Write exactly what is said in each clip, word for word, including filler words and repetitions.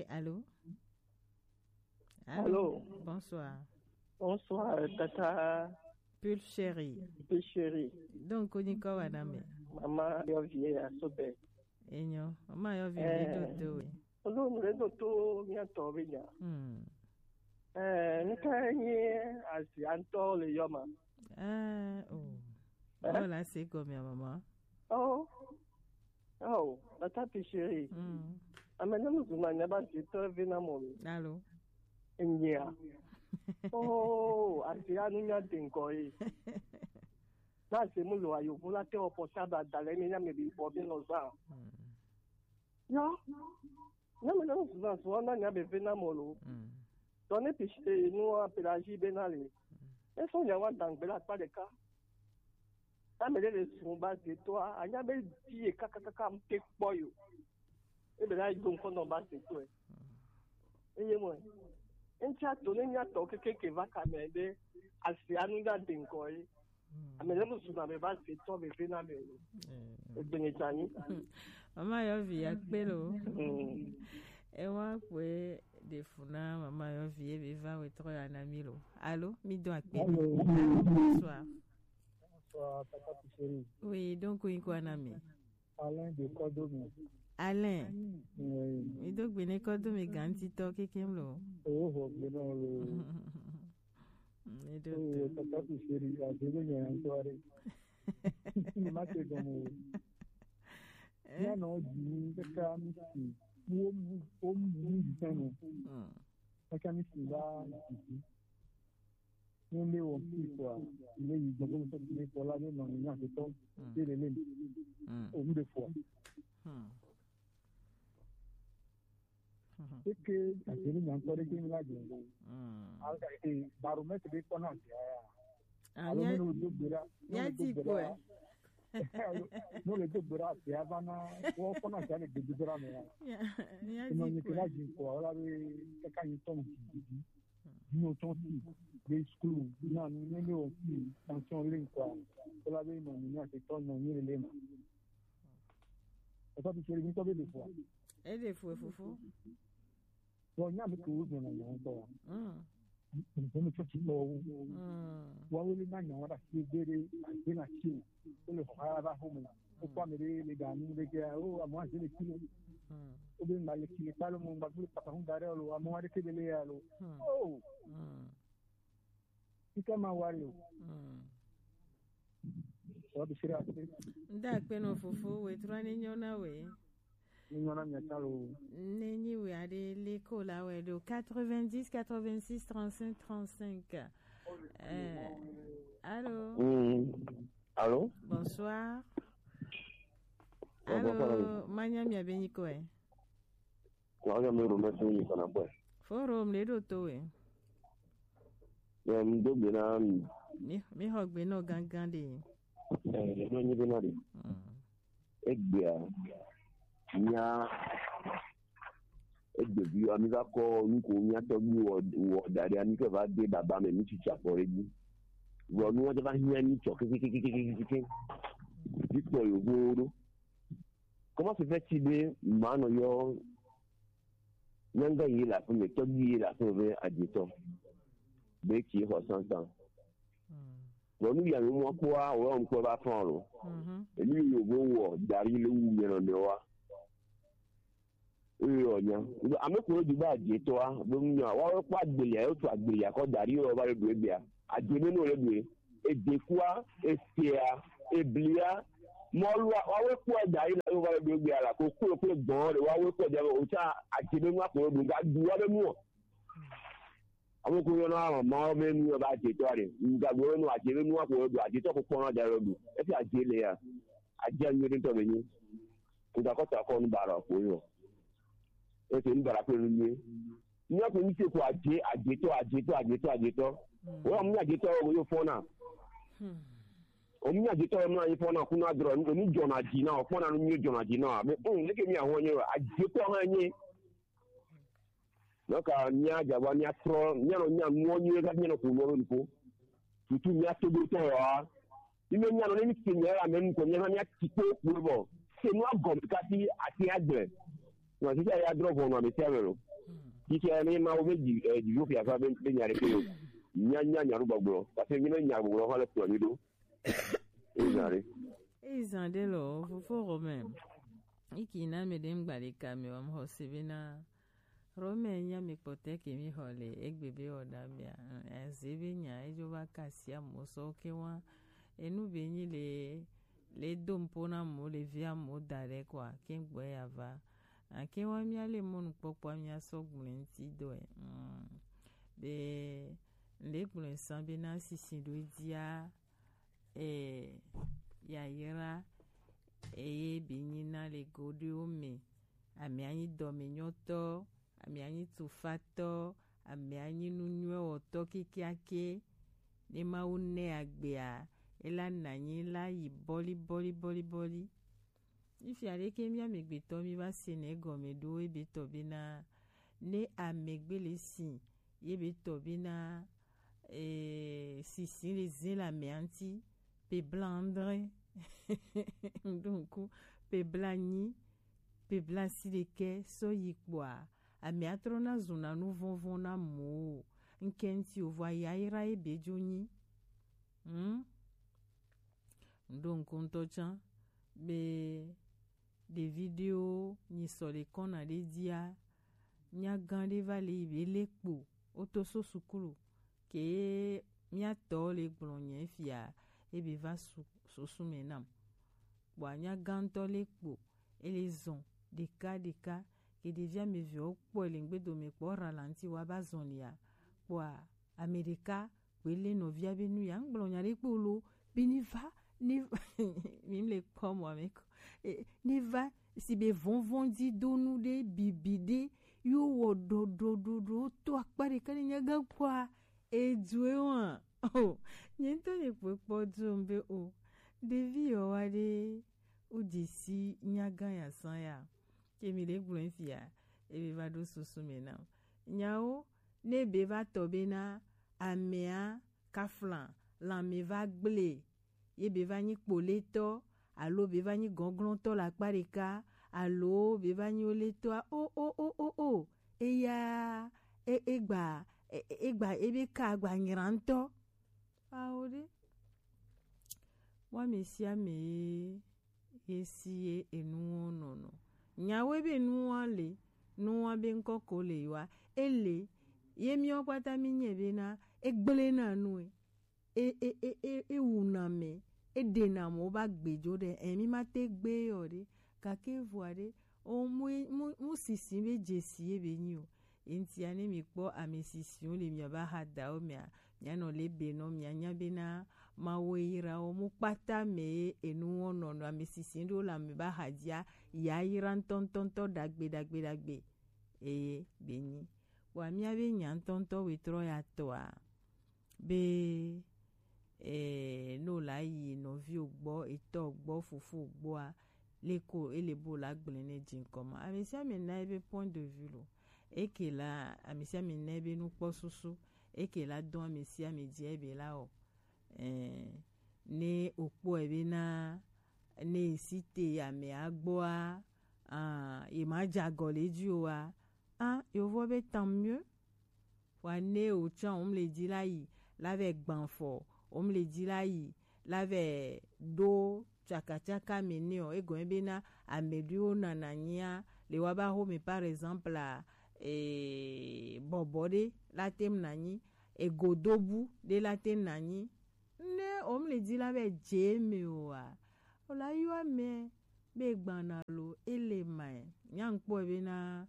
Allô? Allô? Allô? Bonsoir. Bonsoir, tata. Pulchérie. Pulchérie. Donc, on y quoi, madame? Maman, yo vie à Sobé. Enyo, maman, yo vie, eh, dodo, oui. Ono mle do to mia tɔ be nya. Hmm. Eh, nka nye azia ŋutɔ le yɔ ma. Eh, oh. Eh? Oh, là, c'est comme ya, maman. Oh. Oh, la tapi chérie. Hmm. Ame ne mu zuma nya ba zi to ve na mo. Allô? Nya. Oh, azia nu nya de ŋkɔ yi. Na se mu lo ayo, mu la te o portable da le mi nya me bi bo bi no za. Hmm. Yo. Na me na souvent, souvent, na nya be ve na mo lo. Mm. Donc, ne piche, nous, en pédagogie, ben, allez. Mm. Et son, nya wa dans la pas de cas. Na me le son base de toi, a nya be di e ka, ka, ka, ka, mpe kpo yo. E be la, donc, on base de toi. Mm. E ye mo. En cha to ne nya to ke, ke, ke va ka me de, asi anu nya de ŋkɔ yi. Hmm. Ame ɖe mu suna me va se tɔ me ve na me o. Eh. Egbe nye tani. Mama yɔ vi ya kpe lo. Hmm. E wa kpe de funa mama yɔ vi e be va we trɔ ya na mi lo. Allô, mi do akpe. Allô. Allô, bonsoir. Bonsoir, papa Piseri. Oui, donc, oui, quoi, na mi? Alain de Kɔdomi. Alain. Oui. Mi do gbe ne Kɔdomi gantitɔ kekem lo. Oh, ho, gbe no lo. Mi do. Oh, to. Papa Piseri, a se be nya ŋutɔ ɖe. Ma te gɔme o. Eh? Mía nɔ dzi kaka mi si. Wo mu, wo mu mi sanu. Hmm. Kaka mi si ba dzi. Ni le wo fi kɔ. Le yi gbɔ ko so ni kɔ la ni nɔ ni nya se tɔ. Hmm. Te le le. Hmm. O mu de fɔ. Hmm. Eke, ake ni nya ŋutɔ ɖe ke mi la dze. Mm. Alka, e, baromètre ɖe kpɔna via ya. Ah, alo mia-, ne le do gbe ɖa, ne mia le do di gbe ɖa. Kɔe. Alo, ne le do gbe ɖa, via va na, wo kpɔna via le gbedodoɖa me ya. Mia, mia di kɔe. Enɔ mi ke la dzi kɔ, wala be kaka yi tɔn didi. Dino tɔn si, be skul, na nu ne le o fi, tension le kɔ. Wala be nɔ mi nya se tɔ nɔ mi le ma. Esa bi sori mi tɔ be le fo. E le fo fofo. Bon, nya mi ko wo na nya ko. Mm. Mo mi tso ti ko. Mm. Wa wo le na nya wa da si gbe de, a gbe na ti. O le ho ha ba ho mo. O kwa mi le, le da ni le ke, o, a mo a je le kilo. Mm. O be ma le kilo pa lo mo ba le papa hun da re lo, a mo a de ke le ya lo. Mm. Oh. Mm. Ika ma wari o. Mm. Wa bi sira. Nda kpe no fofo, we trɔ ni nyɔ na we. Ni nyɔ na mi ata lo. Ne nyi we ade le ko la we do quatre-vingt-dix, quatre-vingt-six, trente-cinq, trente-cinq. Euh, allô? Mm. Allô? Bonsoir. Bonsoir, allô, madame. Manya mi abenyi ko e. Wa ga me ro me tun yi kana boy. Forum le do to we. Ya mi do gbe na mi. Mi, mi ho gbe no gangan de. Eh, mi do nyi gbe na de. Mm. Egbea, mía, egbevi, ami va kɔ nu ko mía tɔgbi wɔ, wɔ da ɖi, ami ke va de baba me, mi tsitsi afɔ ɖe dzi. Vɔ nu wa va hiã mi tsɔ kekekekekeke. Mi kpɔ yovowo ɖo. Comment se fait-il be manɔ yɔ nyanga yi le aƒeme, tɔgbi yi le aƒeme be adzetɔ? Be tsi xɔ sansan. Mm. Vɔ nu ya mi mɔ kpɔa, o yɔ ŋkpɔ va fɔn lo. Mhm. Enu yi yovo wɔ da ɖi le wu mia nɔnɔewoa. Eyɔ nya. Ame ko di ba adzetɔa, be nu nya. Wa kpɔ agbelia, yo tu agbelia kɔ da ɖi yo va le ɖu egbea. Adze be no le ɖu e. Edekua, esea, eblia, mɔlua, wa wo kpɔ da ɖi la yo va le ɖu egbea la. Ko klo klo gbɔn ɖe, wa wo kpɔ da ɖi, o tsa adze be nua ko ɖu ga du wa be nuɔ. Ame ko yɔna mama wo be nu ba adzetɔ ɖe. Ŋgagbe wo nu adze be nua ko ɖu, adzetɔ ko kpɔna da ɖo ɖu. Efi adze le ya. Adze anyi ɖe ŋutɔ be nyi. Ŋgakɔ ta kɔ nu bara ko yɔ. Ese nu bara ko nu nyi. Nya ko mi se ko adze, adzetɔ, adzetɔ, adzetɔ, adzetɔ. Mm. Wo mu adzetɔ wo yo fɔna. Hmm. O mu adzetɔ wo mu anyi fɔna kuna drɔ, o mu jɔna dzi na, o fɔna nu nyi jɔna dzi na. Be, um, leke mi ahɔ nyi, adzetɔ hã nyi. Nɔ ka mía dza va mía trɔ, mía nɔ mía nuɔ nyuie, ka mía nɔ ƒo nuɔ be nuƒo. Tutu mía to do tɔ wa. Mi me mía nɔ ne mi se mía la me nu ko mía va mía ti kpo kpo bɔ. Se nua gɔme kasi ati agbe. Nɔ sisi ya drɔ vɔ nɔ ame sia ame lo. Kike ne ma wo be dzi eh, dzidzo fia fa be be nya ɖeke o. Nya nya nya ɖo gbɔgblɔ. Parce que mi ne nya gbɔgblɔ fa le kplɔ mi ɖo. Ezan ɖe. Ezan ɖe lɔ fofo Romain. Iki na mi ɖe ŋgba ɖeka mi wa mxɔ se be na Romain nya mi kpɔtɛ ke mi xɔ le egbe be wɔ da bia. Eze be nya edzo va kasia mo sɔ ke wa. Enu be nyi le le do ŋpo na mo le via mo da ɖe kɔa ke gbɔ ya va. Ake wa mia le mɔnukpɔkpɔ mia sɔ gblẽ ŋti dɔe. Mm. Be ŋɖe gblɔe sã be na sisi ɖo dzia eh, yayra eye be nyi na le goɖoewo me. Ame anyi dɔmenyɔtɔ, ame anyi tufatɔ, ame anyi nunyuiwɔtɔ kekeake. Ne Mawu nɛ agbea, ela nanyi la yi bɔli bɔli bɔli bɔli. Ifia ɖeke mía megbetɔ mi va se nɛ gɔme ɖo ebe tɔ bena ne amegbe le si ye be tɔ bena eh, sisi le zin le amea ŋuti pe bla andre ŋɖonku pe bla nyi pe bla si ɖeke sɔ yi kpɔa amea trɔ na zuna nu vɔvɔ na mo ŋkɛ ŋuti o vɔ ayayra ye be dzo nyi. Hmm? Ŋɖo ŋku ŋutɔ tsã be ɖevi ɖewo nyi sɔ le kɔna ɖe dzia, nyagã ɖe va le yi be le kpo woto so sukulu ke mía tɔ le gblɔ nye fia ebe va su susu me nam. Kpɔa nyagã ŋutɔ le kpo ele zɔn ɖeka ɖeka ke ɖevi ame evewo kpɔe le ŋgbedo me kpɔ ra la ŋuti wa ba zɔn lia kpɔa ame ɖeka kpoe lé nɔvia be nu ya ŋgblɔ nya ɖe kpo lo be ne va ne mi le kpɔ mɔ ame ko e, ne va si be vɔvɔdidonu ɖe bibi ɖe yo wɔ ɖɔɖɔɖɔɖɔ to akpa ɖeka ne nyagã kpɔa edue wa o nye ŋutɔ nye kpɔe kpɔ dom be o ɖevi yɔ wa ɖe o dzi si nyagã ya sã ya ke mi le gblɔ fia ebe va ɖo susu me na nyawo ne be va tɔ be na amea kafla lãme va gblẽ ye be va nyi kpoletɔ alo be va nyi gɔglɔtɔ le akpa ɖeka alo be va nyi woletɔa o o o o o eya e- egba e- e- egba ebe ka agba nyra ŋutɔ awo ɖe wa ame sia ame ye ye si ye enuwo nɔnɔ nyawo ebe nuwa le nuwa be ŋkɔ ko le yiwa ele ye miawo kpata mi nye be na egblẽ na nue e e e e e wuna ame e ɖena amewo be agbe dzo ɖe e mi ma te gbe yɔ ɖe gake vɔa ɖe o mu mu mu sisi be dzesi ye be nyi o eŋtia ne mi kpɔ ame sisiwo le mia ba ha dawo mea mia nɔ le be nɔ mia nya be na mawo yra wo mu kpata me ye enu wo nɔ nɔ ame sisi ɖewo le ame ba ha dzia ya yra ŋtɔŋtɔŋtɔ ɖagbe ɖagbe ɖagbe eye be nyi wa mia be nya ŋtɔŋtɔ wetrɔ ya tɔa be eh, no la yi nɔviwo gbɔ etɔ gbɔ fofo gbɔa leko ele bo la gblẽ ne dzi ŋkɔ ma ame sia ame na ebe point de vue lo eke la ame sia ame na ebe nukpɔ susu eke la dɔn ame sia ame dzi ebe la o eh, ne okpɔ ebe na ne esi te ame agbɔa ah, ye ma dza gɔ le dzi o wa ah, yovo be tant mieux Wa ne o tsã o mle dzi la yi la vɛ gban fɔ o mle dzi la yi la vɛ ɖo tsakatsaka me ne o egɔme be na ame ɖewo nana nyia le wa ba xo me par exemple eh, bɔbɔ ɖe la tem na nyi egodobu ɖe la tem na nyi ne o mle dzi la vɛ dze me o wa o la yɔ ame be gbana lo ele mae nya ŋkpɔ be na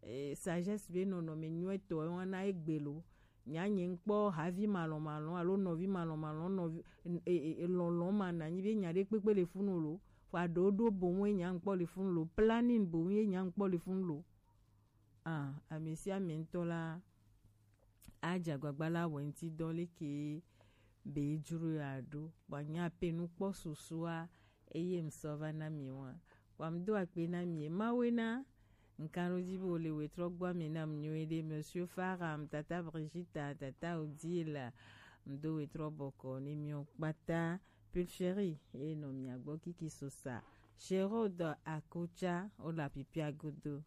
eh, sagesse be nɔnɔme nyuitɔ wa na egbe lo nya nye ŋkpɔ havi malɔmalɔ alo nɔvi malɔmalɔ nɔvi eh, eh, eh, lɔlɔ ma na nyi be nya ɖe kpekpe le funu lo fa ɖo ɖo boŋ ye nya ŋkpɔ le funu lo planning boŋ ye nya ŋkpɔ le funu lo ah ame sia ame ŋutɔ la adze agbagba la wɔ ŋuti dɔ leke be dzro ya ɖo vɔ nya pe nukpɔ susua eye ŋsɔ va na mi wa vɔ ŋdo akpe na mi mawe na ŋkan ɖo dzi be wole wetrɔ gbɔ ame nam nyuie ɖe monsieur Faram tata Brigitta tata Odile ŋdo wetrɔ bɔkɔ ne miɔ kpata Pulchérie eye nɔ mia gbɔ kiki sosa Sherod Akotsa wole apipia godo.